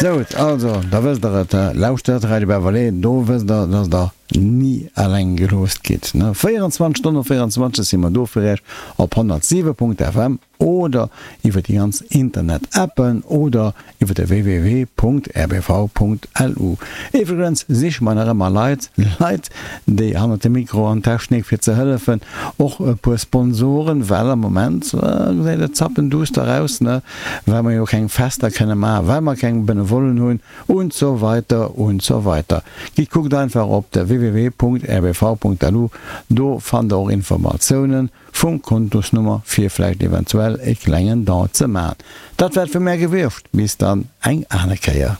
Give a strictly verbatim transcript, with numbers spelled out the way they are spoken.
Sou, also, da wësst der et, lauschtert Radio Beverley, do wësst der, dass der ni eleng gelooss gitt. véierundzwanzeg Stonnen op véierundzwanzeg si mer do fir iech op honnertsiwe Punkt F M oder iwwer déi ganz Internet-Appen oder iwwer de W W W Punkt R B V Punkt L U. Iwwregens siche mer nach ëmmer Leit, Leit, déi hannert dem Mikro an Technik fir ze hëllefen, och e puer Sponsoren, well am Moment gesäit et zappenduster aus, ne, well mer jo keng Fester kënne maachen, well mer keng Benevollen hunn und so weiter und so weiter. Gitt, kuckt einfach op de W W W Punkt R B V Punkt L U, do fannt der och Informatiounen vum Kontosnummer fir vläicht eventuell e klengen Don ze maachen. Dat wär et vu mär gewiescht, bis dann eng aner Kéier.